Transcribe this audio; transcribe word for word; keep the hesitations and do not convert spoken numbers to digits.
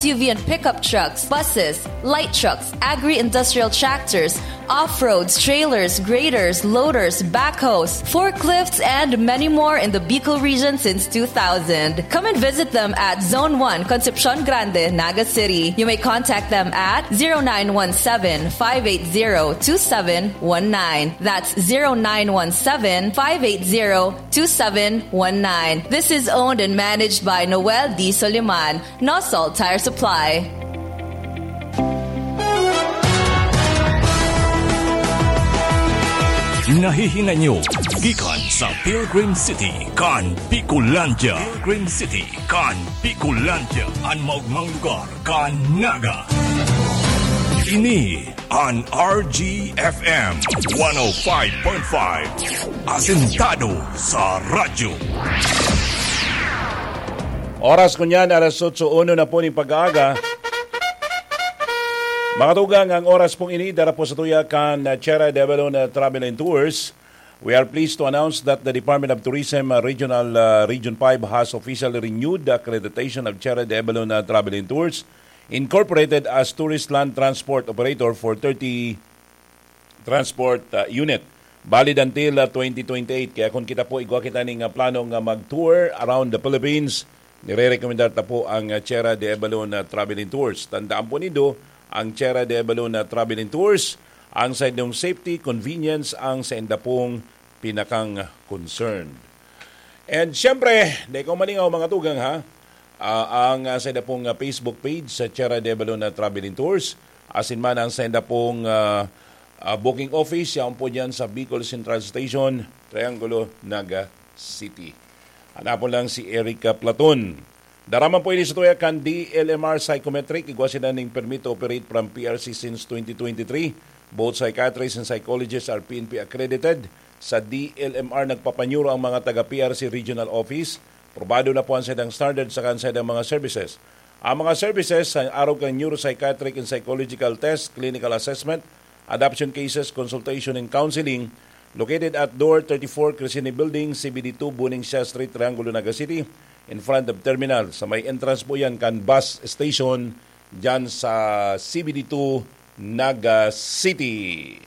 S U V and pickup trucks, buses, light trucks, agri-industrial tractors, off-roads, trailers, graders, loaders, backhoes, forklifts, and many more in the Bicol region since two thousand. Come and visit them at Zone one, Concepcion Grande, Naga City. You may contact them at zero nine one seven, five eight zero, two seven one nine. That's zero nine one seven, five eight zero, two seven one nine. This is owned and managed by Noel D. Soliman, Nosol Tire Supply. Nahihinay nyo gikan sa Pilgrim City kan Bicolandia. Pilgrim City kan Bicolandia, an maogmang lugar kan Naga. Ini an R G F M one oh five point five, asentado sa radyo. Oras ko niyan, alas otso uno na po ning pag-aaga. Mga tugang, ang oras pong ini, dara po sa tuya kan uh, Sierra de Avalon uh, Travel and Tours. We are pleased to announce that the Department of Tourism uh, Regional uh, Region five has officially renewed the accreditation of Sierra de Avalon uh, Travel and Tours Incorporated as Tourist Land Transport Operator for thirty Transport uh, Unit. Valid until uh, twenty twenty-eight. Kaya kung kita po igwa kita ning uh, plano nga mag-tour around the Philippines, nire-recommendar ta po ang uh, Sierra de Avalon uh, Travel and Tours. Tandaan po nindo, ang Sierra de Avalon uh, Travel and Tours, ang sa inyong safety, convenience, ang sa inda pong pinakang concern. And syempre, di ko malingaw mga tugang ha, uh, ang uh, sa inda pong uh, Facebook page sa Sierra de Avalon uh, Travel and Tours, asin man ang sa inda pong uh, uh, booking office, yaon po dyan sa Bicol Central Station, Triangulo, Naga City. Hanapon lang si Erica Platon. Dara man po ini sa tuya kan D L M R Psychometric. Igwa sila ning permit to operate from P R C since twenty twenty-three. Both psychiatrists and psychologists are P N P accredited. Sa D L M R, nagpapanyuro ang mga taga P R C Regional Office. Probado na po ang saidang standard saka ang saidang mga services. Ang mga services sa arog kan neuropsychiatric and psychological test, clinical assessment, adoption cases, consultation and counseling, located at Door thirty-four, Crescene Building, C B D two, Buning Siya Street, Triangulo, Naga City, in front of terminal. Sa may entrance po yan kan bus station dyan sa C B D two, Naga City.